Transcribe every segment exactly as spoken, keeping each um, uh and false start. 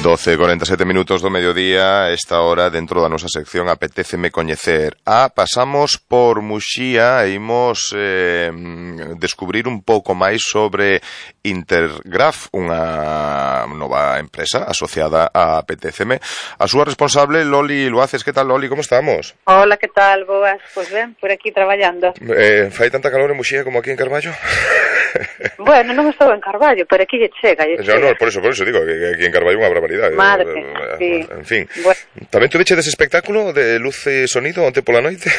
doce e cuarenta e sete minutos do mediodía, esta hora dentro da nosa sección Apetéceme Coñecer. Ah, pasamos por Muxía e imos eh, descubrir un pouco máis sobre Intergraf, unha nova empresa asociada a Apetéceme. A súa responsable, Loli Luaces. Que tal, Loli? Como estamos? Hola, que tal? Boas. Pois ben, por aquí traballando. Eh, fai tanta calor en Muxía como aquí en Carballo? Bueno, non estou en Carballo, pero aquí lle chega, lle chega. No, no, por eso, por eso digo que aquí en Carballo unha barbaridade. Madre, eh, sí. En fin. Bueno. Tamén tu veche dese espectáculo de luz e sonido onte pola noite?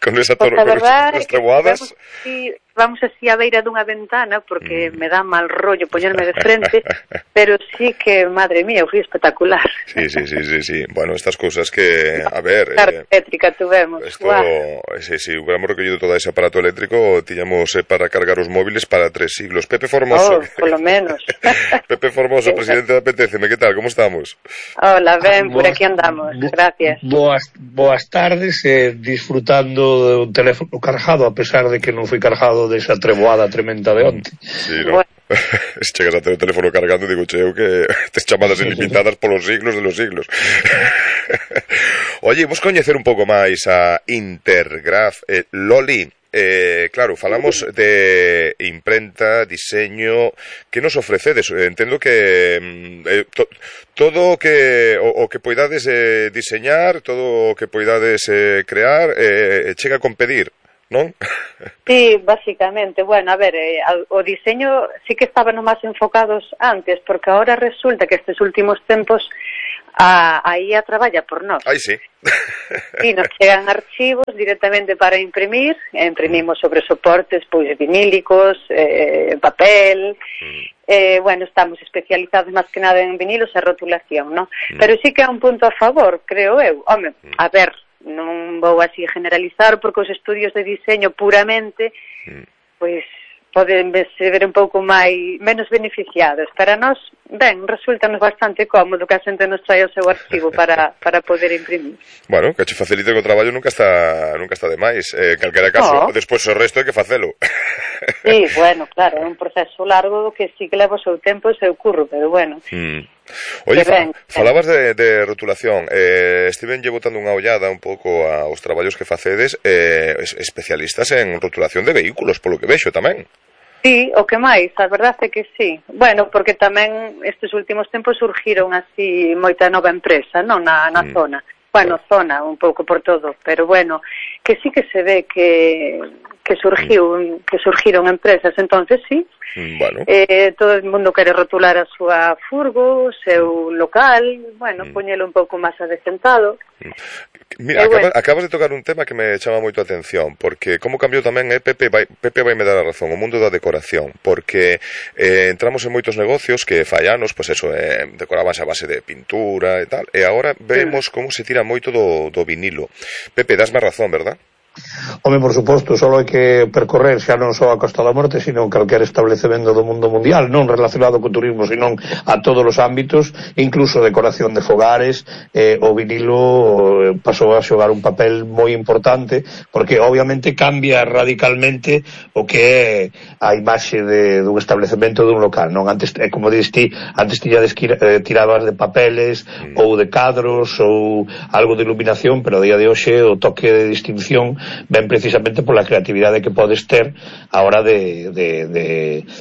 Con esa Pues torre, con esas treboadas. Vamos así, vamos así a beira dunha ventana, porque mm. me dá mal rollo poñerme de frente, pero sí que, madre mía, foi espectacular. Sí, sí, sí, sí, sí. Bueno, estas cousas que, a ver... Claro, eh, eléctrica tuvemos. Esto, sí, sí, hubiéramos recollido todo ese aparato eléctrico, tiñamos eh, para cargar os móviles para tres siglos. Pepe Formoso. Oh, polo menos. Pepe Formoso, presidente da Apetéceme, que tal, como estamos? Hola, ben, por aquí andamos, gracias. Boas, boas tardes, eh, disfrutando do teléfono cargado, a pesar de que non foi cargado desa treboada tremenda de onte. Sí, ¿no? Bueno. Se chegas a ter o teléfono cargando, digo, cheo que tes chamadas ilimitadas polos siglos de los siglos. Oye, vos coñecer un pouco máis a Intergraf. eh, Loli, Eh, claro, falamos de imprenta, diseño. Que nos ofrecedes? Entendo que eh, to, todo o que o, o que poidades eh, diseñar, todo o que poidades eh, crear, eh, chega con pedir, non? Sí, básicamente. Bueno, a ver, eh, o diseño sí que estaban máis enfocados antes, porque ahora resulta que estes últimos tempos a, a I A traballa por nós. Ai, sí. E nos chegan archivos directamente para imprimir, e imprimimos sobre soportes pois vinílicos, eh, papel, mm. eh, bueno, estamos especializados máis que nada en vinilos e rotulación, non? Mm. Pero sí que é un punto a favor, creo eu. Home, mm. a ver, non vou así generalizar, porque os estudios de diseño puramente, mm. pois, poden ser un pouco máis menos beneficiados. Para nós, ben, resultanos bastante cómodo que a xente nos trae o seu archivo para, para poder imprimir. Bueno, que che facilite que o traballo nunca está nunca está de máis. Eh, calquera caso, no. Despois o resto hai que facelo. Sí, bueno, claro, é un proceso largo que sí que leva o seu tempo e o seu curro, pero bueno. Mm. Oye, fa, falabas de, de rotulación. eh, Estiven lle botando unha ollada un pouco aos traballos que facedes, eh, especialistas en rotulación de vehículos, polo que vexo tamén. Sí, o que máis, a verdade é que sí. Bueno, porque tamén estes últimos tempos surgiron así moita nova empresa, non, na, na mm. zona. Bueno, zona, un pouco por todo, pero bueno, que sí que se ve que que surgiu, mm. que surgiron empresas, entonces sí. Bueno. Eh, todo o mundo quere rotular a súa furgo, o seu local, bueno, mm. poñelo un pouco máis adecentado. Mira, eh, acabas, bueno. acabas de tocar un tema que me chama moito a atención, porque como cambiou tamén, eh, Pepe, vai, Pepe vai me dar a razón, o mundo da decoración, porque eh, entramos en moitos negocios que fai anos, pois pues eso, eh, decorábanse a base de pintura e tal, e agora vemos mm. como se tira moito do, do vinilo. Pepe, dasme razón, verdad? Home, por suposto, só hai que percorrer xa non só a Costa da Morte, sino calquer establecemento do mundo mundial, non relacionado co turismo, sino a todos os ámbitos, incluso decoración de fogares. eh, o vinilo pasou a xogar un papel moi importante, porque obviamente cambia radicalmente o que é a imaxe de, dun establecemento dun local, non? Antes, eh, como dís ti, antes tiñades que eh, tirabas de papeles mm. ou de cadros ou algo de iluminación, pero a día de hoxe o toque de distinción ven precisamente pola creatividade que podes ter a hora de, de, de,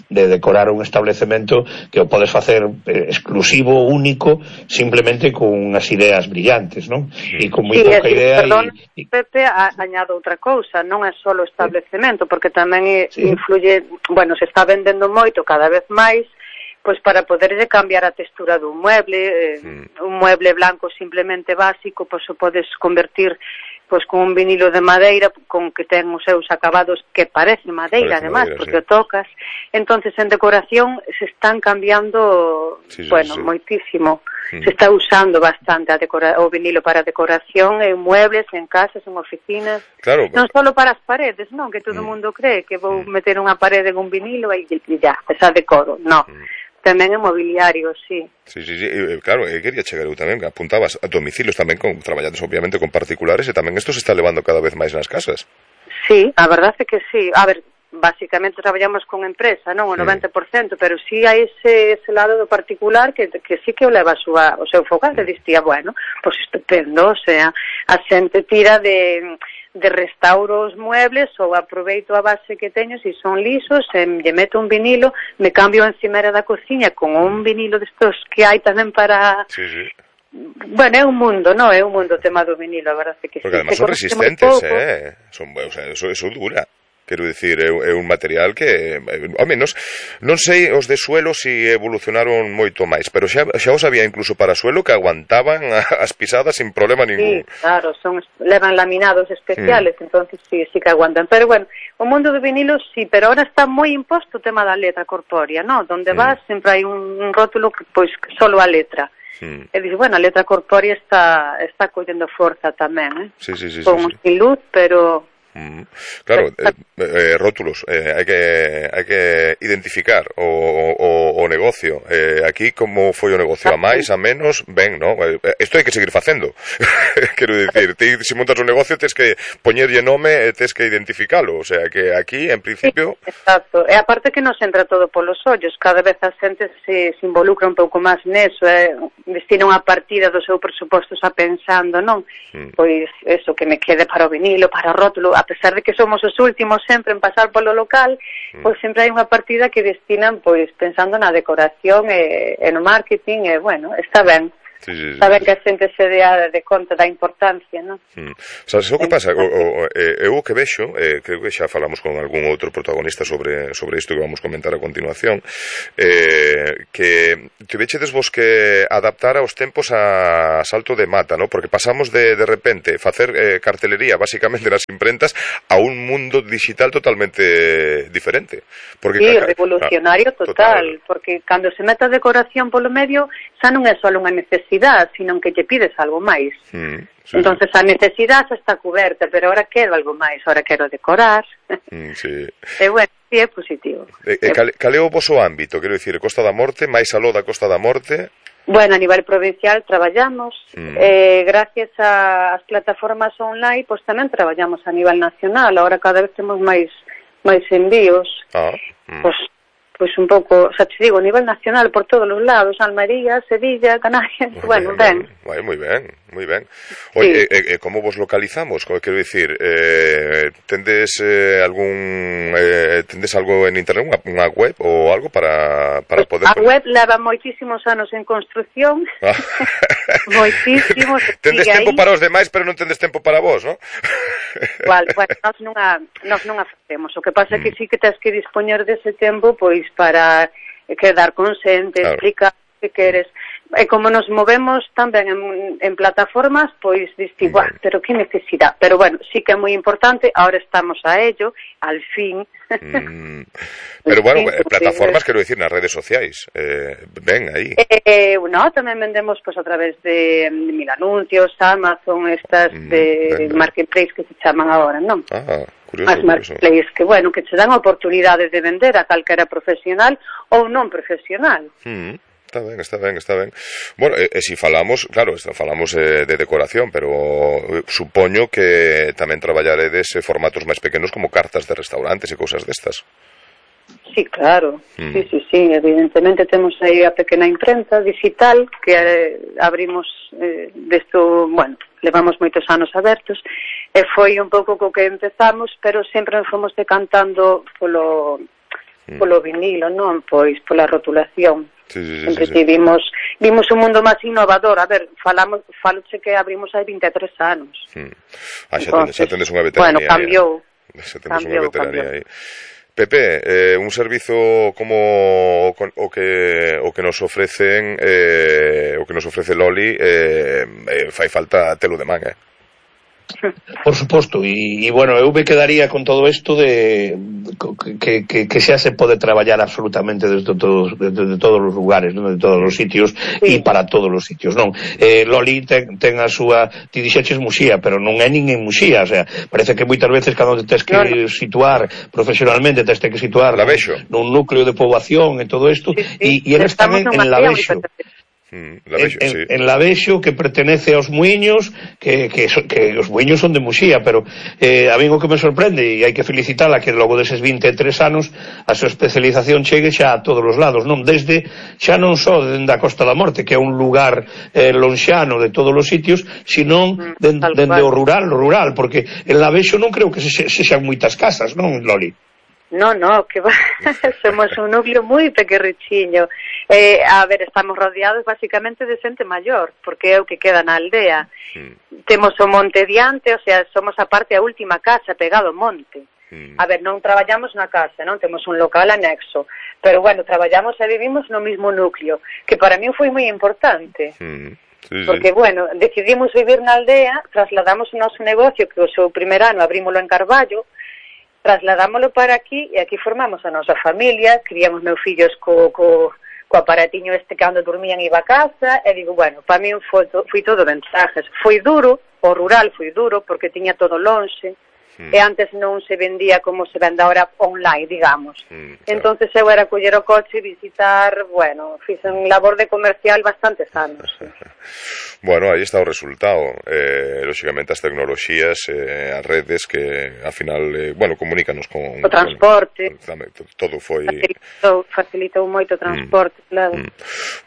de decorar un establecemento, que o podes facer eh, exclusivo, único, simplemente con unhas ideas brillantes, non? E con moi sí, pouca sí, idea. Perdón, y, y... Pepe, a, añado outra cousa, non é só o establecemento, porque tamén sí. influye, bueno, se está vendendo moito cada vez máis, pois para poderlle cambiar a textura dun mueble, eh, mm. un mueble blanco simplemente básico, pois o podes convertir pois con un vinilo de madeira, con que ten os seus acabados que parece madeira, parece además, madeira, porque sí. o tocas. Entonces, en decoración se están cambiando, sí, sí, bueno, sí. moitísimo. Mm. Se está usando bastante a decora- o vinilo para decoración en muebles, en casas, en oficinas. Claro. Non só para as paredes, non? Que todo o mm. mundo cree que vou mm. meter unha parede en un vinilo e ya, esa decoro. Non. Mm. Tamén en mobiliario, sí. Sí, sí, sí, claro, eu quería chegar eu tamén, apuntabas a domicilios tamén, con traballades obviamente con particulares, e tamén isto se está levando cada vez máis nas casas. Sí, a verdade é que sí. A ver, basicamente traballamos con empresa, non o noventa por cento, pero si hai ese, ese lado do particular que, que sí que o leva a súa, o seu fogar, e distía, bueno, pois pues estupendo, o sea, a xente tira de, de restauro os muebles ou aproveito a base que teño, se son lisos, e lle meto un vinilo, me cambio a encimera da cociña con un vinilo destos que hai tamén para... Sí, sí. Bueno, é un mundo, non? É un mundo o tema do vinilo, a verdade que porque sí. Porque además son resistentes, eh? Son, o sea, eso, eso dura. Quero dicir, é, é un material que, ao menos, non sei os de suelo si evolucionaron moito máis, pero xa, xa os había incluso para suelo que aguantaban as pisadas sin problema ningún. Sí, claro, son, levan laminados especiales, mm. entonces sí, sí que aguantan. Pero bueno, o mundo do vinilo sí, pero ahora está moi imposto o tema da letra corpórea, ¿no? Donde mm. vas sempre hai un, un rótulo que, pois, solo a letra. Mm. E dice, bueno, a letra corpórea está está collendo forza tamén, eh? Sí, sí, sí. Con sí, sí. sin luz, pero... Mm. Claro, eh, eh, rótulos, eh, hai que hai que identificar o, o, o negocio. Eh, aquí como foi o negocio, a máis, a menos, ben, no? Isto hai que seguir facendo. Quero dicir, ti, se montas un negocio tes que poñerlle nome e tes que identificalo, o sea, que aquí en principio... Sí, exacto, e aparte que nos entra todo polos ollos, cada vez a xente se, se involucra un pouco máis neso, eh, destina unha partida do seu presuposto xa pensando, non? Mm. Pois, eso, que me quede para o vinilo, para o rótulo, a pesar de que somos os últimos sempre en pasar polo local, mm. pois sempre hai unha partida que destinan pois pensando na decoración e, e no marketing, e bueno, está ben. Sí, sí, sí, saber sí. que a xente se dea de conta da importancia, non? Mm. Sabes o que pasa? O, o, eh, eu que vexo, eh, creo que xa falamos con algún outro protagonista sobre sobre isto que vamos comentar a continuación, eh, que tivechedes vos que adaptar aos tempos a salto de mata, ¿no? Porque pasamos de, de repente facer eh, cartelería basicamente nas imprentas a un mundo digital totalmente diferente. Porque sí, ca... revolucionario ah, total, total, porque cando se mete a decoración polo medio xa non é só unha necesidade, sino que lle pides algo máis. Mm, sí. Entonces a necesidade xa está coberta, pero ahora quero algo máis, ahora quero decorar. Mm, sí. E bueno, sí, é positivo. E, e cal, cal é o voso ámbito? Quero dicir, Costa da Morte, máis aló da Costa da Morte? Bueno, a nivel provincial traballamos, mm. eh, gracias ás plataformas online, pois tamén traballamos a nivel nacional, ahora cada vez temos máis máis envíos. Ah. Mm. Pois pois un pouco, xa te digo, a nivel nacional por todos os lados, Almería, Sevilla, Canarias, muy bueno, ben. ben. Moi ben, moi ben. Oye, sí. e, e como vos localizamos? Quero dicir, eh, tendes eh, algún eh, tendes algo en internet, unha, unha web ou algo para, para poder... A web leva moitísimos anos en construcción, ah. moitísimos. Tendes tempo aí para os demais, pero non tendes tempo para vos, non? Igual, bueno, nós non a, nós non a facemos, o que pasa é que sí que tens que dispoñer dese tempo, pois, para quedar con xente, claro. Explicar o que queres. E como nos movemos tamén en, en plataformas, pois diste, bueno. Pero que necesidade. Pero bueno, sí que é moi importante, ahora estamos a ello, al fin. Mm. Pero bueno, fin, plataformas, quero dicir, nas redes sociais, eh, ven aí. Eh, no, tamén vendemos pues, a través de Mil Anuncios, Amazon, estas mm, de venga. Marketplace que se chaman agora, non? Ah, curioso. As marketplace que, bueno, que che dan oportunidades de vender a calquera profesional ou non profesional. Mm. Está ben, está ben, está ben. Bueno, e, e si falamos, claro, falamos eh, de decoración, pero supoño que tamén traballaredes formatos máis pequenos como cartas de restaurantes e cousas destas. Sí, claro, mm. sí, sí, sí, evidentemente temos aí a pequena imprenta digital que eh, abrimos eh, desto, bueno, levamos moitos anos abertos e foi un pouco co que empezamos, pero sempre nos fomos decantando polo, mm. polo vinilo, non? Pois pola rotulación. Sí, sí, sí, sempre sí, sí. vimos vimos un mundo máis innovador. A ver, falamos faloche que abrimos hai vinte e tres anos. Mm. Ah, xa, Entonces, xa tendes unha veteranía. Bueno, cambiou. Xa tendes unha veteranía aí. Pepe, eh, un servizo como o que o que nos ofrecen eh, o que nos ofrece Loli eh, eh, fai falta telo de man, eh? Por suposto, e, e bueno, eu me quedaría con todo isto de que, que, que xa se pode traballar absolutamente desde todos, desde todos os lugares, non? De todos os sitios e sí. Para todos os sitios, non? Eh, Loli ten, ten a súa, ti dixeches Muxía, pero non é nin en Muxía, o sea, parece que moitas veces cando te tens que no. situar profesionalmente, tens que situar nun, nun núcleo de poboación e todo isto, sí, sí. E, e eles están en, en Lavexo. Mm, Lavexo, en, sí. en Lavexo, que pertenece aos Muiños, que, que, so, que os Muiños son de Muxía, pero eh, a mí o que me sorprende, e hai que felicitala, que logo deses vinte e tres anos a súa especialización chegue xa a todos os lados, non desde, xa non só dende a Costa da Morte, que é un lugar eh, lonxano de todos os sitios, senón mm, dende, dende o rural, o rural, porque en Lavexo non creo que se, se, sexan moitas casas, non, Loli? No, no, que va. Somos un núcleo moi pequerrichiño. Eh, a ver, estamos rodeados basicamente de xente maior, porque é o que queda na aldea. Mm. Temos o monte diante, o sea, somos a parte a última casa, pegado ao monte. Mm. A ver, non traballamos na casa, non temos un local anexo, pero bueno, traballamos e vivimos no mismo núcleo, que para mí foi moi importante. Mm. Sí, sí. Porque, bueno, decidimos vivir na aldea, trasladamos o noso negocio, que o seu primer ano abrímolo en Carballo, trasladámoslo para aquí e aquí formamos a nosa familia, criamos meus fillos co, co, co aparatiño este cando dormían iba a casa e digo, bueno, para mí foi, foi todo ventajas. Foi duro, o rural foi duro porque tiña todo lonxe mm. e antes non se vendía como se vende ahora online, digamos. Mm, claro. Entonces eu era coller o coche e visitar, bueno, fixen labor de comercial bastantes anos. Sí. Bueno, aí está o resultado. Eh, lógicamente as tecnoloxías, eh, as redes que, ao final, eh, bueno, comunícanos con... O transporte. Con, todo foi... Facilitou, facilitou moito o transporte, mm. claro. Mm.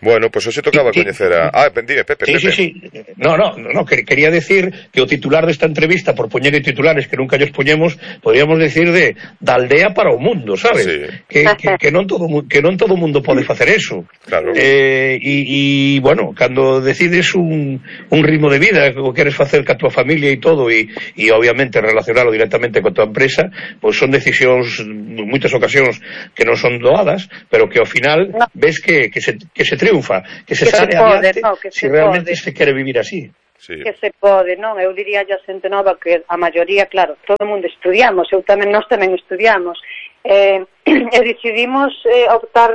Bueno, pois pues, hoxe tocaba sí, coñecer a... Ah, dime, Pepe, sí, Pepe. Sí, sí, no, no, no, quería decir que o titular desta entrevista, por poñer titulares que nunca lles poñemos, podríamos decir de da aldea para o mundo, sabes? Sí. Que, que, que non todo que non todo mundo pode facer eso. Claro. Eh, e, e, bueno, cando decides un un ritmo de vida que queres facer ca tua familia e todo e, e obviamente relacionalo directamente con tua empresa, pois son decisións en moitas ocasións que non son doadas, pero que ao final no. ves que, que, se, que se triunfa, que se que sale se pode, adiante no, que se si realmente pode. Se quere vivir así. Sí. Que se pode, non? Eu diría a xente nova que a maioría, claro, todo o mundo estudiamos, eu tamén, nós tamén estudiamos, eh, e decidimos eh, optar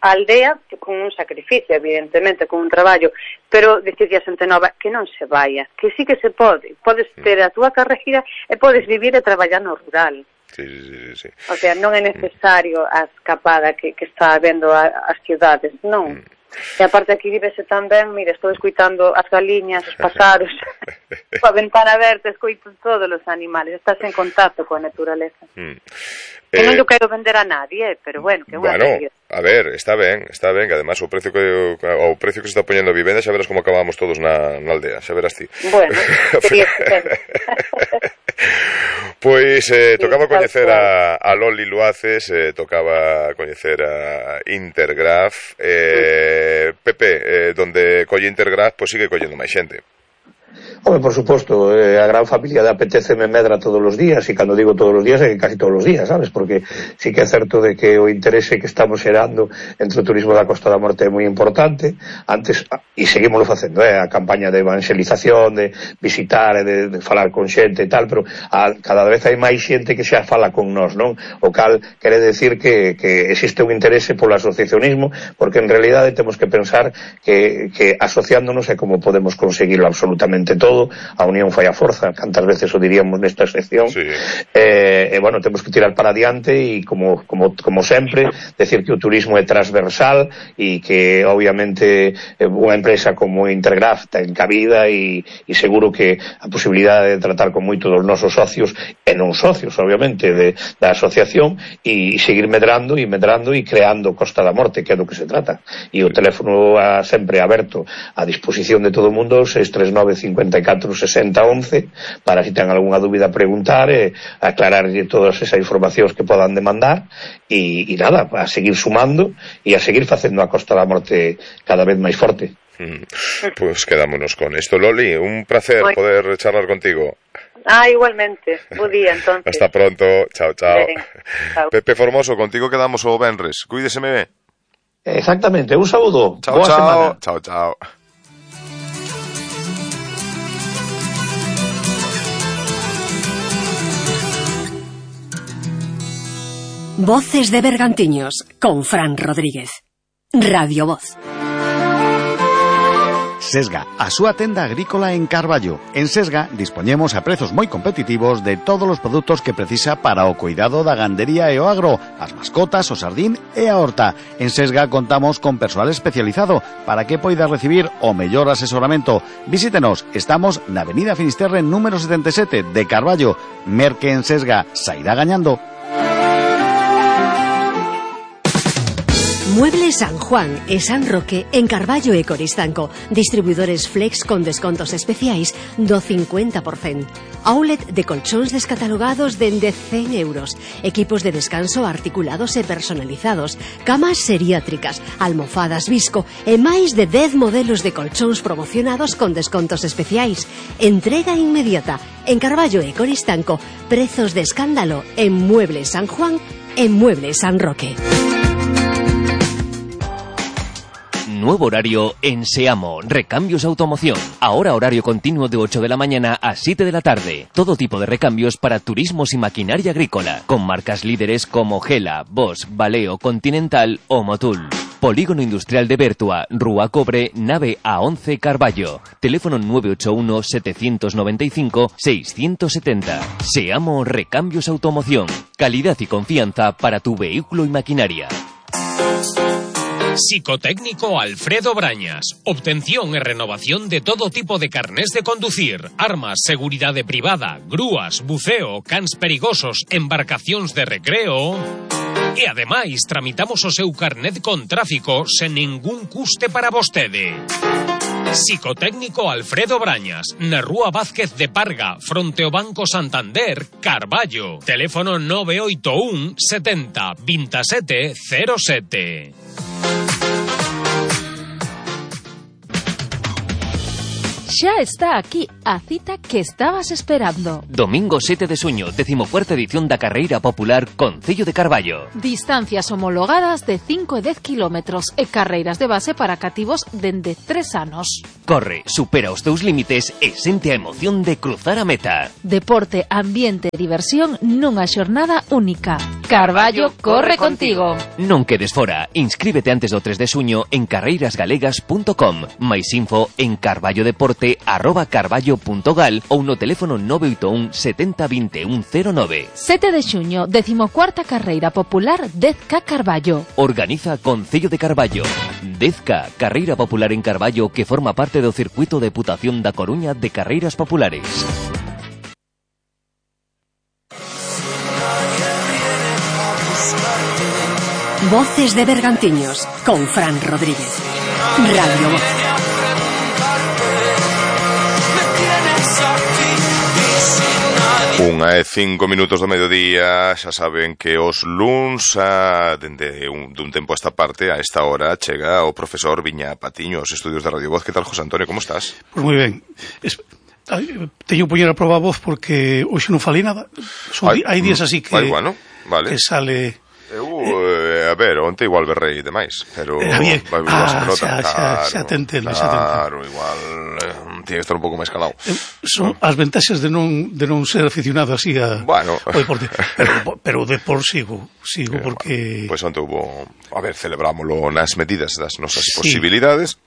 a aldea con un sacrificio, evidentemente, con un traballo, pero decide a xente nova que non se vaya, que sí que se pode, podes ter a túa carreira e podes vivir e traballar no rural. Sí, sí, sí. O sea, non é necesario a escapada que, que está habendo a, as cidades, non. Mm. E aparte aquí vivese tamén, mira, estou escoitando as galiñas, os pasaros, coa ventana aberta, escoito todos os animales, estás en contacto coa naturaleza. Mm. Que eh, non yo quero vender a nadie, pero bueno, que é unha bueno, realidad. A ver, está ben, está ben, que además o precio que o precio que se está poñendo a vivenda, xa verás como acabamos todos na, na aldea, xa verás ti. Bueno, sería estupendo. Pois eh, tocaba coñecer a, a Loli Luaces, eh, tocaba coñecer a Intergraph, eh, Pepe, eh, donde colle Intergraph, pois sigue collendo máis xente. Home, por suposto, eh, a gran familia de A P T C me medra todos os días, e cando digo todos os días é que casi todos os días, sabes? Porque sí que é certo de que o interese que estamos xerando entre o turismo da Costa da Morte é moi importante. Antes, e seguimoslo facendo, eh, a campaña de evangelización, de visitar e de, de falar con xente e tal, pero a, cada vez hai máis xente que xa fala con nós, non? O cal quere decir que, que existe un interese polo asociacionismo, porque en realidade temos que pensar que, que asociándonos é como podemos conseguirlo absolutamente todo. A unión fai a forza, cantas veces o diríamos nesta sección. Sí. Eh, e, bueno, temos que tirar para adiante e, como, como, como sempre, decir que o turismo é transversal e que, obviamente, unha empresa como Intergraph ten cabida e, e seguro que a posibilidade de tratar con moitos dos nosos socios, e non socios, obviamente, de, da asociación, e, e seguir medrando e medrando e creando Costa da Morte, que é do que se trata. E o teléfono a, sempre aberto a disposición de todo o mundo, seis tres nove cinco catro sesenta once, para si ten algunha dúbida preguntar e aclararlle todas esas informacións que podan demandar e, e nada, a seguir sumando e a seguir facendo a Costa da Morte cada vez máis forte. Mm. Pues quedámonos con esto, Loli, un placer Muy... poder charlar contigo. Ah, igualmente, bo día entonces. Hasta pronto, chao, chao. Bien, chao. Pepe Formoso, contigo quedamos o venres, cuídeseme. Exactamente, un saúdo. Chao, boa chao. Semana. Chao, chao. Voces de Bergantiños con Fran Rodríguez. Radio Voz. Sesga, a súa tenda agrícola en Carballo. En Sesga dispoñemos a prezos moi competitivos de todos os produtos que precisa para o cuidado da gandería e o agro, as mascotas, o sardín e a horta. En Sesga contamos con persoal especializado para que poida recibir o mellor asesoramento. Visítenos, estamos na Avenida Finisterre número setenta e sete de Carballo. Merque en Sesga, sairá gañando. Muebles San Juan e San Roque en Carballo e Coristanco. Distribuidores Flex con descontos especiais do cincuenta por cento. Outlet de colchóns descatalogados dende cen euros. Equipos de descanso articulados e personalizados. Camas seriátricas, almofadas Visco e máis de dez modelos de colchóns promocionados con descontos especiais. Entrega inmediata. En Carballo e Coristanco, prezos de escándalo en Muebles San Juan e Muebles San Roque. Nuevo horario en Seamo, Recambios Automoción. Ahora horario continuo de ocho de la mañana a siete de la tarde. Todo tipo de recambios para turismos y maquinaria agrícola, con marcas líderes como Gela, Bosch, Valeo, Continental o Motul. Polígono Industrial de Bertua, Rúa Cobre, nave A once Carballo. Teléfono nueve ocho uno, siete nueve cinco, seis siete cero. Seamo Recambios Automoción. Calidad y confianza para tu vehículo y maquinaria. Psicotécnico Alfredo Brañas. Obtención e renovación de todo tipo de carnés de conducir, armas, seguridade privada, grúas, buceo, cans perigosos, embarcacións de recreo. E ademais tramitamos o seu carnet con tráfico sen ningún custe para vostede. Psicotécnico Alfredo Brañas, na Rúa Vázquez de Parga, fronte ao Banco Santander, Carballo. Teléfono nove oito un, setenta, veintisiete cero sete. Xa está aquí a cita que estabas esperando. Domingo sete de xuño, decimocuarta edición da Carreira Popular Concello de Carballo. Distancias homologadas de cinco e dez kilómetros e carreiras de base para cativos dende tres anos. Corre, supera os teus límites e sente a emoción de cruzar a meta. Deporte, ambiente e diversión nunha xornada única. Carballo corre contigo. Non quedes fora. Inscríbete antes do tres de xuño en carreiras galegas punto com. Mais info en carballodeporte arroba carballo punto gal ou no teléfono nove oito un, setenta, vinte e un, cero nove. sete de xuño, decimocuarta Carreira Popular dez K Carballo. Organiza Concello de Carballo. dez K, Carreira Popular en Carballo, que forma parte do Circuito de Deputación da Coruña de Carreiras Populares. Voces de Bergantiños con Fran Rodríguez. Radio Voz. Unha e cinco minutos do mediodía. Xa saben que os luns a, dende un, dun tempo a esta parte, a esta hora, chega o profesor Viña Patiño aos estudios de Radio Voz. Que tal, José Antonio, como estás? Pois moi ben. Es, teño que poñer a proba a voz porque hoxe non falei nada. Son, hai, hai días así que, vai, bueno, vale. Que sale... Eu, eh, a ver, onte igual berrei demais, pero... Eh, bien. Vai, ah, nota, xa, xa, claro, xa te entendo, claro, xa te entendo. Claro, igual eh, tiene que estar un pouco máis calado. Eh, son ¿no? As ventaxas de non de non ser aficionado así a, bueno. ao deporte. Pero, pero de por sigo, sigo eh, porque... Pois pues onte hubo... A ver, celebrámoslo nas medidas das nosas sí. posibilidades.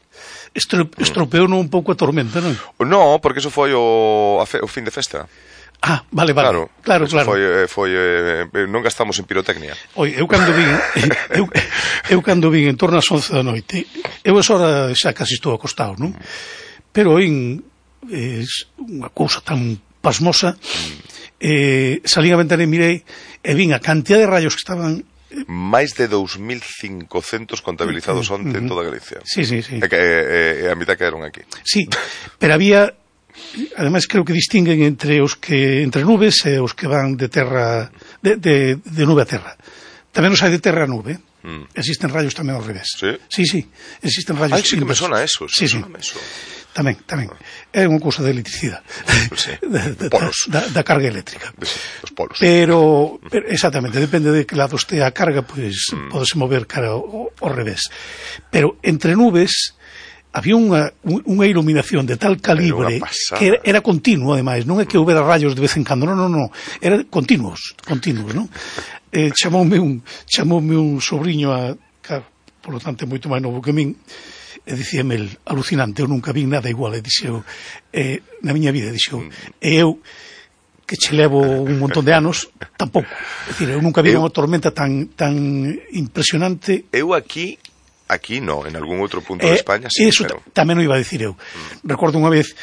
Estro, estropeou un pouco a tormenta, non? No, porque eso foi o, a fe, o fin de festa. Ah, vale, vale. Claro, claro, claro. Foi, foi, eh, non gastamos en pirotecnia. Oi, eu cando vin, eu, eu cando vin en torno ás once da noite, eu esa hora xa casi estou acostado, non? Pero en eh, unha cousa tan pasmosa, eh, salín a ventana e mirei e vin a cantidad de rayos que estaban... Máis de dous mil cincocentos contabilizados onte en toda Galicia. Sí, sí, sí. E, e, e a mitad quedaron aquí. Sí, pero había... Ademais creo que distinguen entre os que entre nubes e os que van de terra de, de, de nube a terra. Tamén os hai de terra a nube. Mm. Existen rayos tamén ao revés. Sí, sí, sí. Existen rayos. Ai, sí que me sona eso. Sí, sí. Eso. Tamén, tamén. É unha cousa de electricidade. Sí. da, da, polos. Da, da carga eléctrica. Sí, os polos. Pero, pero exactamente, depende de que lado este a carga, pois pues, mm. podese mover cara ao, ao revés. Pero entre nubes había unha, unha iluminación de tal calibre que era, era continuo, ademais, non é que houbera rayos de vez en cando, non, non, non, era continuos, continuos, non? Eh, chamoume un chamoume un sobrinho a, claro, por lo tanto, moito máis novo que min, e dicíame el, alucinante, eu nunca vi nada igual, e dixeu, eh, na miña vida, dixeu, e eu, que che levo un montón de anos, tampouco. É dicir, eu nunca vi eu, unha tormenta tan tan impresionante. Eu aquí, aquí no, en algún outro punto eh, de España, sí. Eso pero... tamén o iba a dicir eu. Mm. Recordo unha vez,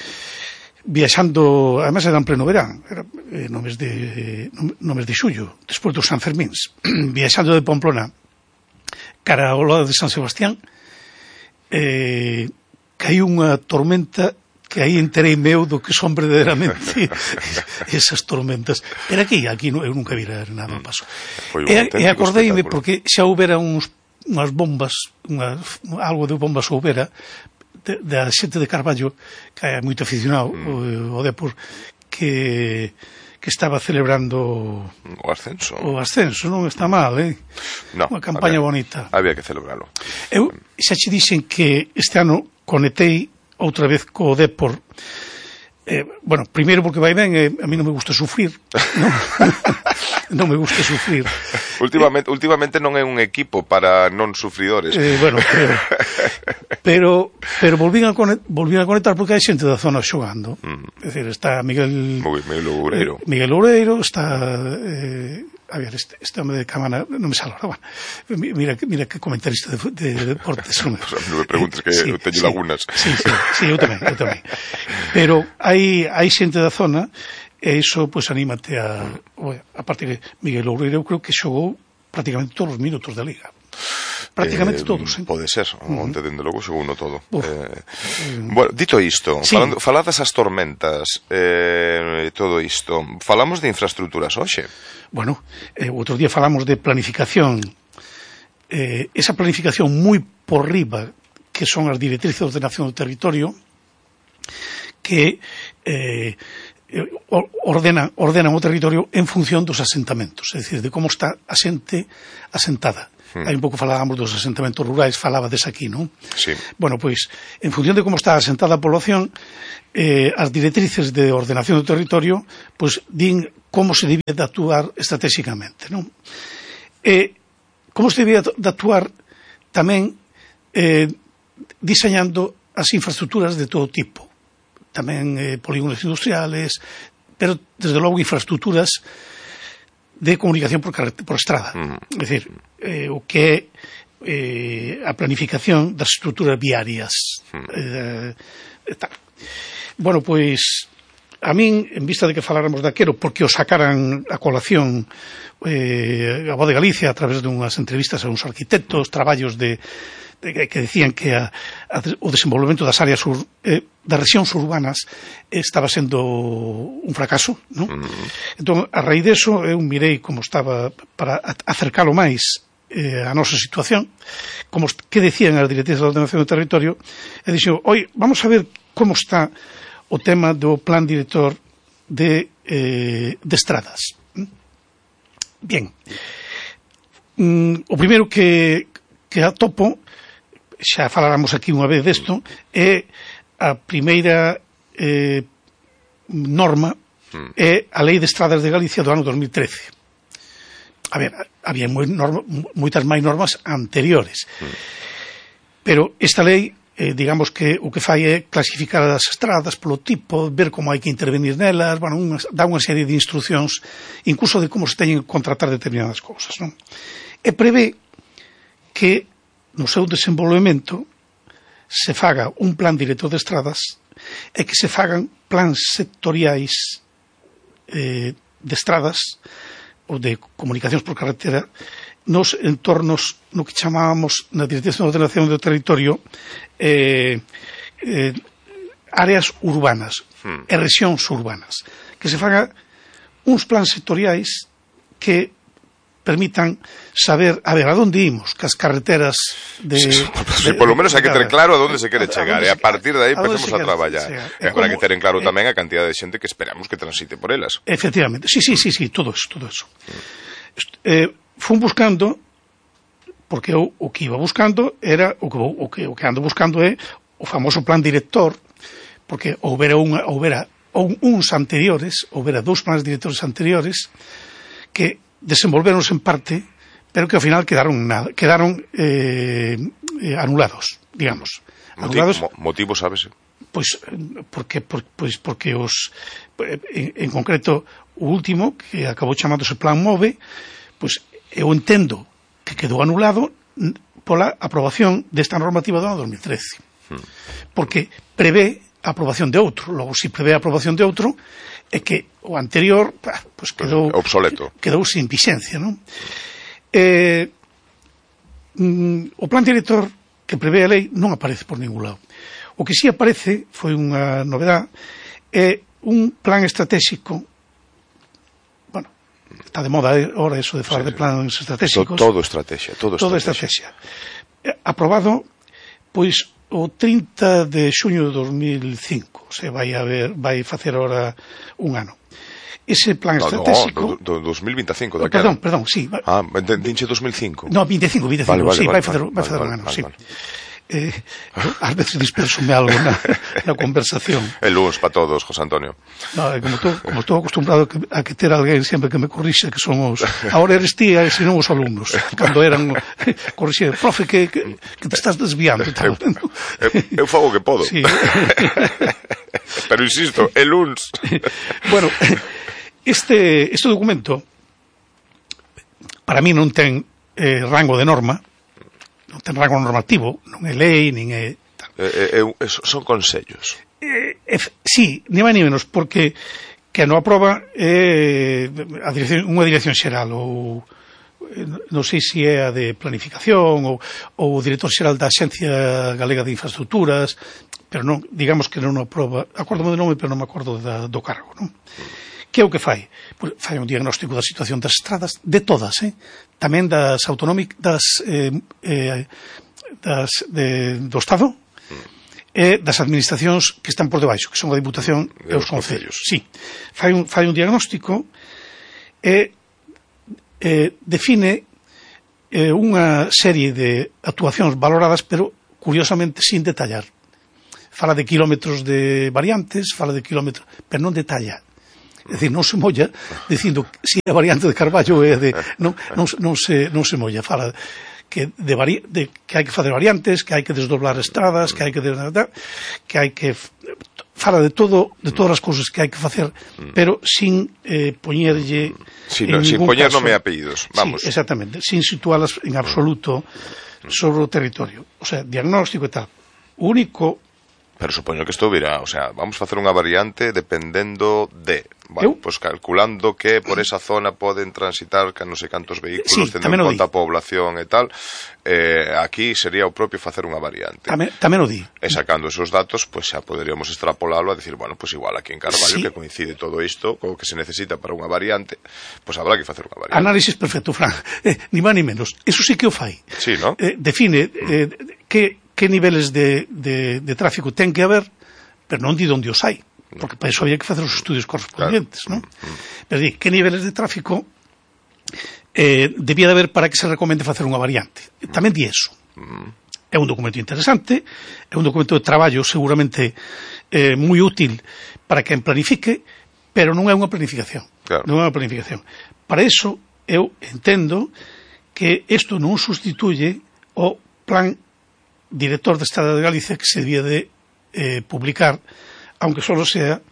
viaxando, además era en pleno verán, era eh, no mes de no mes de xullo, despois dos San Fermíns, viaxando de Pamplona cara ao lado de San Sebastián, eh, caiu unha tormenta que aí enterei meu do que son verdadeiramente esas tormentas. Pero aquí, aquí no, eu nunca vira nada ao paso. E, e acordeime porque xa houbera uns, unhas bombas, unha, algo de bombas houbera, da xente de Carballo, que é moito aficionado mm. o, o Depor, que que estaba celebrando o ascenso. O ascenso, non está mal, eh? No, unha campaña había, bonita. Había que celebralo. Eu xa che dixen que este ano conectei outra vez co Depor. Eh, bueno, primeiro porque vai ben, eh, a mí non me gusta sufrir, non, non me gusta sufrir. Últimamente, eh, últimamente non é un equipo para non sufridores. Eh, bueno, pero pero, pero volvín, a conectar, volvín a conectar porque hai xente da zona xogando. Mm. É dicir, está Miguel Miguel Loureiro. Eh, Miguel Loureiro, está eh, a ver, este, este home de Camana non me sale ahora, bueno, mira, mira que comentarista de, de, de deportes. Non me, non me preguntes que sí, eu teño sí, lagunas. Sí, sí, sí, eu tamén, eu tamén. Pero hai, hai xente da zona e iso, pois, pues, anímate a... A parte que Miguel Loureiro, eu creo que xogou prácticamente todos os minutos da Liga. Prácticamente eh, todos, eh? Pode ser, onte, uh-huh. dende logo, xogou no todo. Eh, bueno, dito isto, sí. falando, faladas as tormentas, eh, todo isto, falamos de infraestructuras hoxe. Bueno, eh, outro día falamos de planificación, eh, esa planificación moi por riba, que son as directrices de ordenación do territorio, que eh, ordenan, ordenan o territorio en función dos asentamentos, é dicir, de como está a xente asentada. Hmm. Hai un pouco falábamos dos asentamentos rurais, falabades aquí, non? Sí. Bueno, pois, en función de como está asentada a población, eh, as directrices de ordenación do territorio, pois, din como se debía de actuar estratégicamente, non? E como se debía de actuar tamén eh, diseñando as infraestructuras de todo tipo, tamén eh, polígonos industriales, pero desde logo infraestructuras de comunicación por, por estrada. Mm. É dicir, eh, o que é eh, a planificación das estructuras viarias. Mm. Eh, eh, tal. Bueno, pois, a min, en vista de que faláramos daquero, porque o sacaran a colación eh, a Voz de Galicia a través de unhas entrevistas a uns arquitectos, traballos de que decían que a, a, o desenvolvemento das áreas ur, eh, das rexións urbanas estaba sendo un fracaso, non? Mm. Entón, a raíz deso, eu mirei como estaba para acercalo máis eh, a nosa situación, como que decían as directrices de ordenación do territorio, e dixo, oi, vamos a ver como está o tema do plan director de, eh, de estradas. Bien. Mm, o primeiro que, que atopo, xa faláramos aquí unha vez desto, é a primeira eh, norma é a Lei de Estradas de Galicia do ano dos mil trece. A ver, había moi norma, moitas máis normas anteriores, pero esta lei, eh, digamos que o que fai é clasificar as estradas polo tipo, ver como hai que intervenir nelas, bueno, unha, dá unha serie de instruccións, incluso de como se teñen que contratar determinadas cousas, non? E prevé que no seu desenvolvemento se faga un plan director de estradas e que se fagan plans sectoriais eh, de estradas ou de comunicacións por carretera nos entornos, no que chamábamos na Dirección de Ordenación do Territorio eh, eh, áreas urbanas hmm. e rexións urbanas, que se faga uns plans sectoriais que permitan saber, a ver, a donde imos, que as carreteras de... Sí, sí, sí, de, polo menos hai que ter claro a donde se quere chegar, e a partir de aí empezamos a, a traballar. E agora hai que ter en claro eh, tamén a cantidad de xente que esperamos que transite por elas. Efectivamente, sí, sí, sí, sí, todo eso, todo eso. Mm. Eh, fun buscando, porque eu o que iba buscando era, o que, o que, o que ando buscando é o famoso plan director, porque houbera, unha, houbera uns anteriores, houbera dous plans directores anteriores, que desenvolveronse en parte, pero que ao final quedaron nada, quedaron eh, eh, anulados, digamos. Anulados, motivo, sabes? Pois porque por, pois porque os en, en concreto o último que acabou chamándose Plan MOVE, pois eu entendo que quedou anulado pola aprobación desta normativa do ano dos mil trece. Hmm. Porque prevé a aprobación de outro, logo se prevé a aprobación de outro é que o anterior pois quedou obsoleto. Quedou sin vixencia, non? Eh, mm, o plan director que prevé a lei non aparece por ningún lado. O que si aparece, foi unha novedade, é un plan estratégico. Bueno, está de moda ahora eso de falar sí, de plans estratégicos. Todo, todo estrategia, todo, todo estrategia. estrategia. Aprobado, pois, o trinta de xuño de dos mil cinco, se vai a ver, vai facer ahora un ano. Ese plan no, estratégico... No, do, do dos mil veinticinco, da Perdón, cara. perdón, sí. Ah, dinche dos mil cinco. No, veinticinco, veinticinco, vale, vale, sí, vale, vai facer, vale, vai facer vale, un ano, vale, sí. Vale. Eh, ás veces disperso-me algo na, na conversación. El lunes para todos, José Antonio. No, como estou como estou acostumbrado a que ter alguén sempre que me corrixe, que son os... Ahora eres ti, e senón os alumnos. Cando eran... Corrixe, profe, que, que, que te estás desviando. Eu, eu, eu fago o que podo. Sí. Pero insisto, el lunes. Bueno, este, este documento para mí non ten eh, rango de norma, non ten rango normativo, non é lei, nin é... Eh, eh, son consellos. Eh, eh, sí, ni máis ni menos, porque que non aproba é eh, a dirección, unha dirección xeral, ou eh, non sei se é a de planificación, ou, ou o director xeral da Axencia Galega de Infraestructuras, pero non, digamos que non aproba, acórdome do nome, pero non me acordo da, do cargo, non? Que é o que fai? Pues fai un diagnóstico da situación das estradas, de todas, eh? Tamén das autonómicas, das, eh, eh, das de, do Estado, e das administracións que están por debaixo, que son a Diputación e os concellos. Sí. Fai un, fai un diagnóstico e eh, define eh, unha serie de actuacións valoradas, pero curiosamente sin detallar. Fala de kilómetros de variantes, fala de kilómetros, pero non detalla. É dicir, non se molla dicindo se si a variante de Carballo é de non, non, non, se, non se molla, fala que, de vari, de, que hai que fazer variantes, que hai que desdoblar estradas, que hai que que hai que fala de todo, de todas as cousas que hai que facer, pero sin eh, poñerlle sí, no, sin poñer nome e apellidos, vamos. Sí, exactamente, sin situalas en absoluto sobre o territorio, o sea, diagnóstico e tal. O único... Pero supoño que isto virá, o sea, vamos a facer unha variante dependendo de, bueno, pois pues calculando que por esa zona poden transitar que non sei cantos vehículos, sí, tendo en conta a población e tal, eh, aquí sería o propio facer unha variante. Tamén, tamén o di. E sacando esos datos, pois pues xa poderíamos extrapolalo a decir, bueno, pois pues igual aquí en Carballo, sí, que coincide todo isto, co que se necesita para unha variante, pois pues habrá que facer unha variante. Análisis perfecto, Fran, eh, ni máis ni menos. Eso sí que o fai. Sí, ¿no? Eh, define eh, que que niveles de, de, de tráfico ten que haber, pero non di onde os hai, porque para iso había que facer os estudios correspondientes, claro, non? Pero di, que niveles de tráfico eh, debía de haber para que se recomende facer unha variante. Tamén di eso. É un documento interesante, é un documento de traballo seguramente eh, moi útil para quen planifique, pero non é unha planificación. Claro. Non é unha planificación. Para iso, eu entendo que isto non sustituye o plan director de Estrada de Galicia que se debía de eh, publicar, aunque solo sea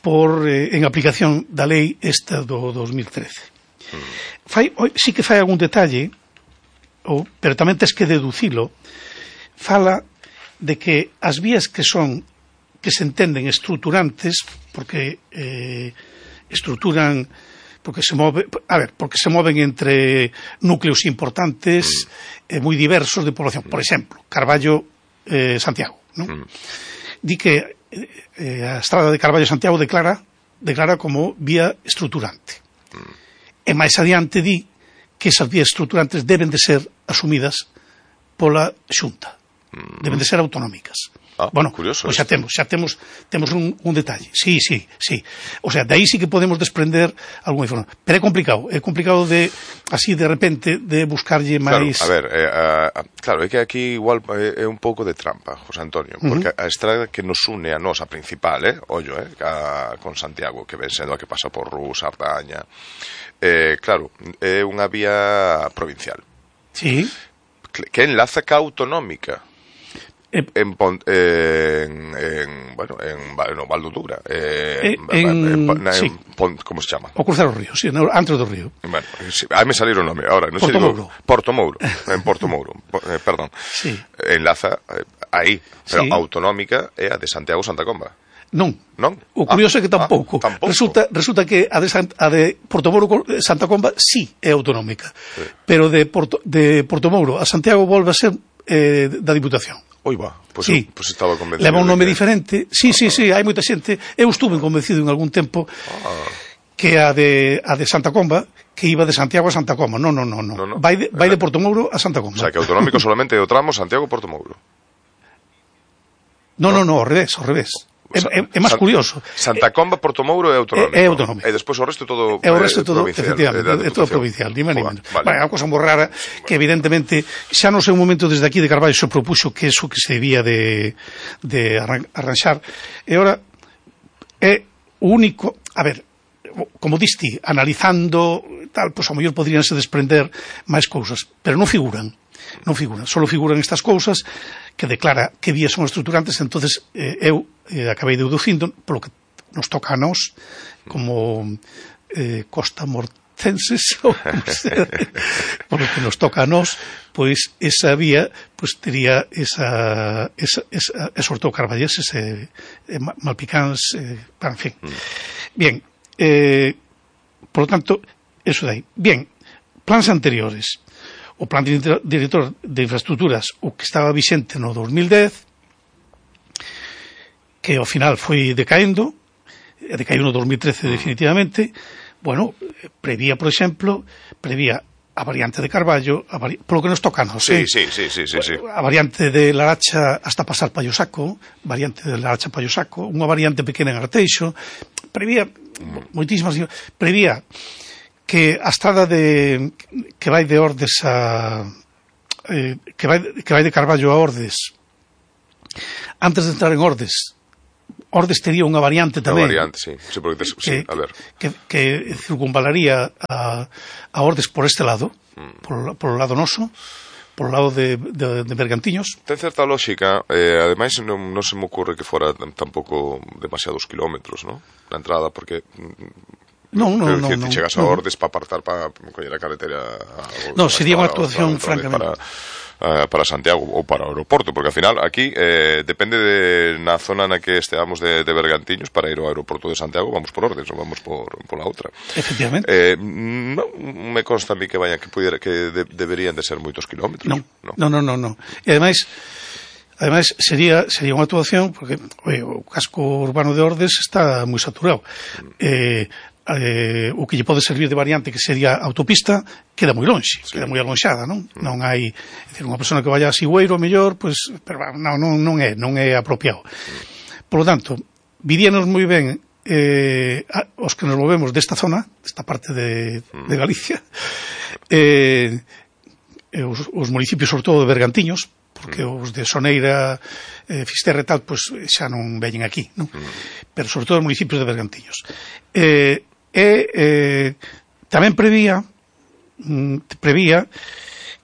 por eh, en aplicación da lei esta do dos mil trece. Mm. Fai, sí que fai algún detalle, ou, pero tamén tes que deducilo, fala de que as vías que son que se entenden estruturantes, porque eh, estruturan porque se move, a ver, porque se moven entre núcleos importantes mm. eh, moi diversos de población. Por exemplo, Carballo eh, Santiago, ¿no? Mm. Di que eh, a estrada de Carballo Santiago declara declara como vía estruturante. Mm. E máis adiante di que esas vías estruturantes deben de ser asumidas pola Xunta. deben de ser autonómicas. Ah, bueno, curioso. Pois xa temos, xa temos, temos un, un detalle. Sí, sí, sí. O sea, de aí sí que podemos desprender algún información. Pero é complicado, é complicado de, así de repente, de buscarlle máis... Claro, a ver, eh, a, a, claro, é que aquí igual é, é un pouco de trampa, José Antonio, porque uh -huh. a estrada que nos une a nosa principal, eh, ollo, eh, a, con Santiago, que ven sendo a que pasa por Rus, Ardaña, eh, claro, é unha vía provincial. Sí. Que enlaza ca autonómica. En, Pont, eh, en, en, bueno, en, no, Valdudura eh, en, en, en, en sí. Pont, ¿cómo se llama? O cruzar o río, sí, antes do río. Bueno, sí, a mí me salieron o nome ahora, no Porto sé, digo, Mouro. Porto Mouro, en Porto Mouro, eh, perdón. Sí. Enlaza eh, aí, pero sí. autonómica é a de Santiago Santa Comba. Non. Non? O curioso ah, é que tampouco. Ah, tampouco. Resulta, resulta que a de, Sant, a de Porto Mouro Santa Comba sí é autonómica, sí. Pero de Porto, de Porto Mouro a Santiago volve a ser eh, da Diputación. Oi va, pois sí. pues estaba convencido. Leva un nome que... diferente. Sí, ah, sí, sí, hai moita xente. Eu estuve convencido en algún tempo ah. que a de a de Santa Comba que iba de Santiago a Santa Comba. Non, non, non, no. no, no. Vai de vai de Porto Mouro a Santa Comba. O sea, que autonómico solamente é o tramo Santiago-Porto Mouro. Non, non, non, ao revés, ao revés. É, é, é máis curioso. Santa Comba, Porto Mouro é autonómico. É, é autonómico. E despois o resto todo é o resto todo, provincial, efectivamente, é todo provincial, ni máis ni menos. Vale. Bueno, é unha cosa moi rara que evidentemente xa no sei un momento desde aquí de Carballo se propuxo que eso que se debía de, de arranxar. E ora é o único, a ver, como diste, analizando tal, pois pues, a mellor poderíanse desprender máis cousas, pero non figuran. Non figuran, só figuran estas cousas que declara que vías son estruturantes. Entonces eh, eu eh, acabei deducindo polo que nos toca a nós como eh, Costa Mortenses ou polo que nos toca a nós, pois esa vía pois tería esa, esa, esa e sobre todo carballeses e eh, malpicáns eh, en fin. Bien, eh, por lo tanto eso de aí. Bien, plans anteriores. O plan director de infraestructuras, o que estaba vixente no dos mil dez, que ao final foi decaendo, decaiu no dos mil trece definitivamente, bueno, prevía, por exemplo, prevía a variante de Carballo, a vari... polo que nos toca a nos, sí, eh? sí, sí, sí, sí, sí. A variante de Laracha hasta pasar Pallosaco, variante de Laracha Pallosaco, unha variante pequena en Arteixo, prevía moitísimas, prevía que a estrada de que vai de Ordes a eh, que vai que vai de Carballo a Ordes, antes de entrar en Ordes, Ordes tería unha variante tamén. Unha variante, sí, sí, porque des, sí, que, a ver. Que, que circunvalaría a, a Ordes por este lado, mm. por, por o lado noso, por o lado de, de, de Bergantiños. Ten certa lógica, eh, ademais non, non se me ocurre que fora tampouco demasiados kilómetros, ¿no? Na entrada, porque Non, non, non. Te chegas a Ordes para apartar para coller a carretera. Non, sería unha actuación francamente para, uh, para Santiago ou para o aeroporto, porque ao final aquí eh, depende de na zona na que esteamos de, de Bergantiños para ir ao aeroporto de Santiago, vamos por Ordes ou vamos por por la outra. Efectivamente. Eh, non me consta a mí que vayan que pudiera que de, deberían de ser moitos kilómetros. Non, non, non, non, non. E ademais Ademais, sería sería unha actuación porque oye, o casco urbano de Ordes está moi saturado. Eh, eh, o que lle pode servir de variante que sería autopista queda moi lonxe, sí. Queda moi alonxada, non? Mm. Non hai, é dicir, unha persona que vaya a Sigüeiro, mellor, pois, pero non, non, non é, non é apropiado. Mm. Por lo tanto, viríanos moi ben eh, a, os que nos movemos desta zona, desta parte de, mm. de Galicia, eh, os, os municipios, sobre todo de Bergantiños, porque mm. os de Soneira, eh, Fisterra e tal, pois xa non veñen aquí, non? Mm. Pero sobre todo os municipios de Bergantiños. Eh, e eh, tamén prevía mm, prevía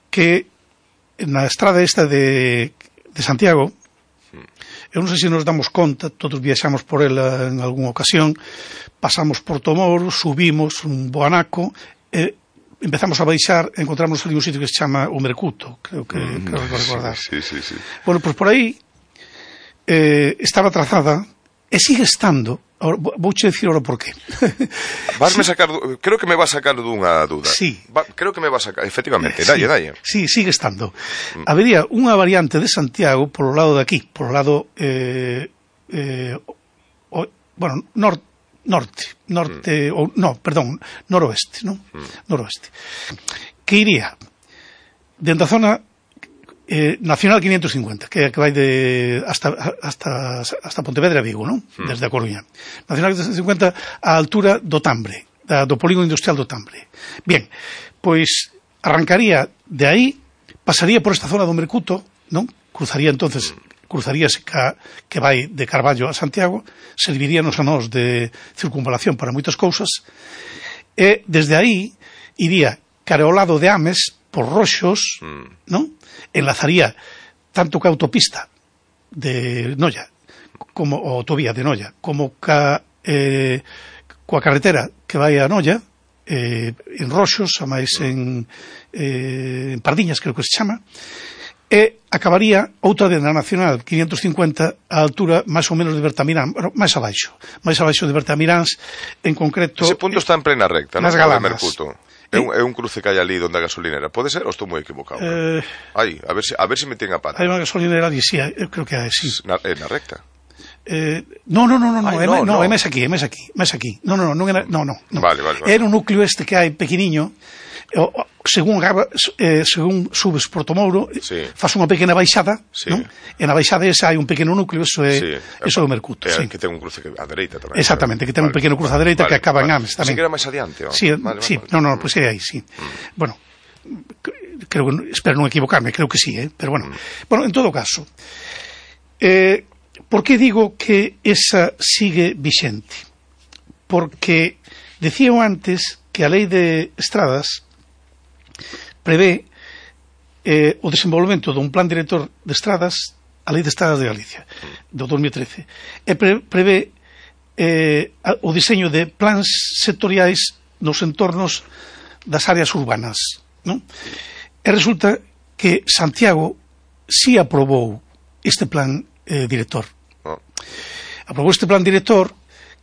que na estrada esta de, de Santiago, eu non sei se nos damos conta, todos viaxamos por ela en algunha ocasión, pasamos por Tomoro, subimos un Boanaco, e eh, empezamos a baixar, encontramos ali un sitio que se chama o Mercuto, creo que, mm, creo que recordar. Sí, sí, sí. Bueno, pois pues por aí eh, estaba trazada e sigue estando. Ahora, vouche dicir ahora por qué. Vasme sacar, creo que me va a sacar dunha duda. Sí. Va, creo que me va a sacar, efectivamente, dalle, sí, dalle. Sí, sigue estando. Mm. Habería unha variante de Santiago por o lado de aquí, por o lado eh, eh, o, bueno, norte norte, norte mm. ou no, perdón, noroeste, non? Mm. Noroeste. Que iría dentro da zona Eh, Nacional quinientos cincuenta, que, que vai de hasta, hasta, hasta Pontevedra e Vigo, non? Mm. Desde a Coruña. Nacional quinientos cincuenta á altura do Tambre, da, do polígono industrial do Tambre. Bien, pois arrancaría de aí, pasaría por esta zona do Mercuto, non? Cruzaría entonces, cruzaríase ca, que vai de Carballo a Santiago, serviríanos a nós de circunvalación para moitas cousas, e desde aí iría cara ao lado de Ames, por Roxos, mm. non? Enlazaría tanto ca autopista de Noia, como a autovía de Noia, como ca, eh, coa carretera que vai a Noia, eh, en Roxos, a máis en, eh, en Pardiñas, creo que se chama, e acabaría outra de na Nacional quinientos cincuenta a altura máis ou menos de Bertamiráns, bueno, máis abaixo, máis abaixo de Bertamiráns, en concreto... Ese punto está en plena recta, nas ¿no? Galanas. É un, é un cruce que hai ali donde a gasolinera. Pode ser ou estou moi equivocado? Eh, Aí, a ver se a ver se me ten a pata. Hai unha gasolinera ali, sí, eu creo que hai, sí. Na, é na recta. Eh, no, no, no, no, Ay, no, no, é, no, no. é máis aquí, é máis aquí, máis aquí. No, no, no, non era, no, no, no. Vale, vale, vale. Era un núcleo este que hai pequeniño, o, o, según eh, según subes por Tomouro, sí. faz unha pequena baixada, sí. non? E na baixada esa hai un pequeno núcleo, eso é, sí. eso é o Mercuto, é, sí. Que ten un cruce a dereita tamén. Exactamente, que ten vale. un pequeno cruce a dereita vale, que acaba vale. en Ames tamén. Así que era máis adiante, ¿o? Sí, vale, sí, vale, no, no, vale. pois pues é aí, sí. Mm. Bueno, creo que, espero non equivocarme, creo que sí, eh? Pero bueno, mm. bueno, en todo caso, eh, por que digo que esa sigue vixente? Porque decía antes que a lei de estradas prevé eh, o desenvolvemento dun plan director de estradas, a lei de estradas de Galicia, do dos mil trece, e pre, prevé eh, o diseño de plans sectoriais nos entornos das áreas urbanas, non? E resulta que Santiago sí aprobou este plan eh, director. Oh. Aprobou este plan director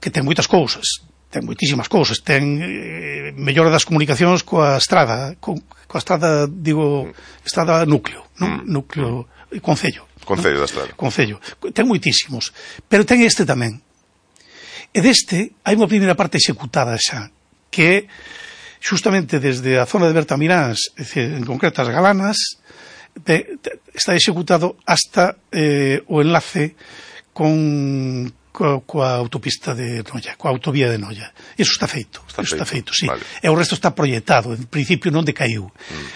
que ten moitas cousas, ten moitísimas cousas, ten eh, mellora das comunicacións coa estrada, co, coa estrada, digo, estrada núcleo, non? Mm. Núcleo, mm. concello. Concello non? da estrada. Concello. Ten moitísimos, pero ten este tamén. E deste hai unha primeira parte executada xa, que é xustamente desde a zona de Bertamiráns, en concreto as Galanas, de, de, está executado hasta eh, o enlace con coa, coa autopista de Noia, coa autovía de Noia. Iso está feito, está Iso feito, está feito, sí. Vale. E o resto está proyectado, en principio non decaiu. Mm.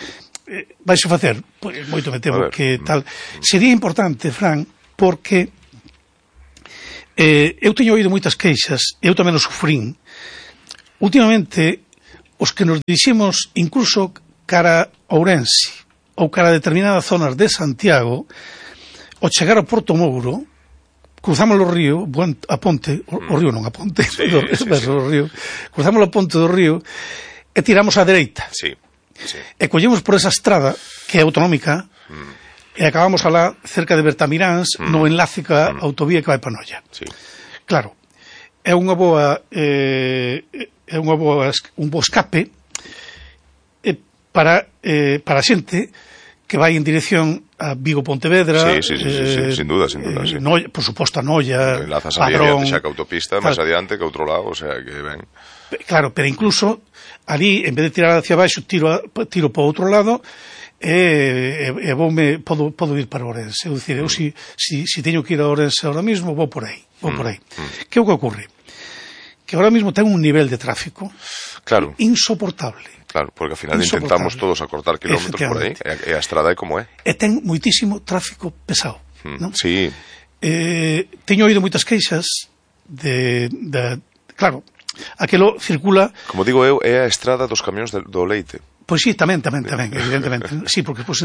Eh, vais a facer, pois, moito me temo que tal. Sería importante, Fran, porque eh, eu teño oído moitas queixas, eu tamén o sufrín. Últimamente, os que nos diriximos incluso cara a Ourense ou cara a determinadas zonas de Santiago, ao chegar a Porto Mouro, cruzamos o río, a ponte, o, o río non a ponte, sí, do, sí, sí. o río, cruzamos a ponte do río e tiramos á dereita. Sí, sí. E collemos por esa estrada que é autonómica mm. e acabamos alá cerca de Bertamiráns mm. no enlace ca mm. autovía que vai para Noia. Sí. Claro, é unha boa eh, é unha boa un bo escape eh, para eh, para a xente que vai en dirección a Vigo-Pontevedra, sí, sí, sí, sí, sí, eh, sin duda, sin duda, eh, sí. Noia, por suposto a Noia, enlazas a Padrón, adiante xa que autopista, máis adiante que outro lado, o sea, que ben. Claro, pero incluso ali, en vez de tirar hacia baixo, tiro, a, tiro para outro lado e, e, e voume, podo, podo ir para Ourense. É dicir, eu si, si, si teño que ir a Ourense ahora mismo, vou por aí, vou por aí. Mm, mm. Que é o que ocorre? Que ahora mismo ten un nivel de tráfico claro. insoportable. Claro, porque ao final intentamos todos acortar kilómetros por aí, e a estrada é como é. E ten moitísimo tráfico pesado, mm, non? Sí. Eh, teño oído moitas queixas de, de, claro, aquelo circula... Como digo eu, é a estrada dos camións do leite. Pois sí, tamén, tamén, tamén, evidentemente. Sí, porque pues,